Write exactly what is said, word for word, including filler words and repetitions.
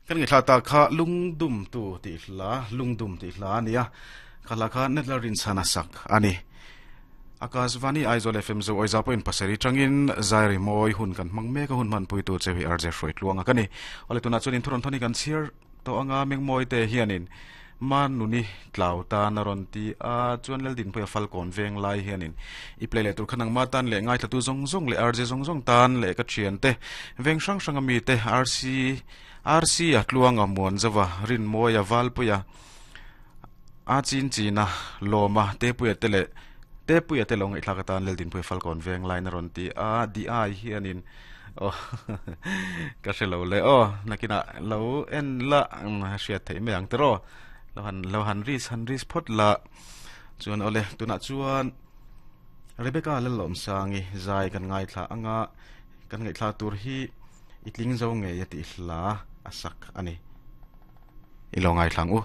Kan ngi thla ta kha lungdum tu ti hla lungdum ti hla ania khala kha netlarin chana sak ani Akashvani Aizawl F M zo oiza point pasari tangin zairi moi hun kan mangme ka hun man pui tu chewi R J hroi tluanga kani ole tuna chunin thuron thoni kan chhiar to anga mengmoi te hianin man nuni tlau ta na ron ti a chuan lel din pui falcon veng lai hianin i play le tur khanang ma tan le ngai thla tu zong zong le R J zong zong tan le ka thian te veng hrang hrang ami te R C R C a tluanga muan zawa rin moya valpuya a chin china loma te puya te le te puya te long i thlaka tan lel din pui falcon veng lai na ron ti a di ai hianin oh ka hrelo le o nakina lo en la hriat thei mai ang tero lo han lo han ris han ris phot la chuan ole tuna chuan Rebecca le lom sangi zai kan ngai thla anga kan ngai thla tur hi itling zo nge ya ti hla asak ani ilo ngai thlang u.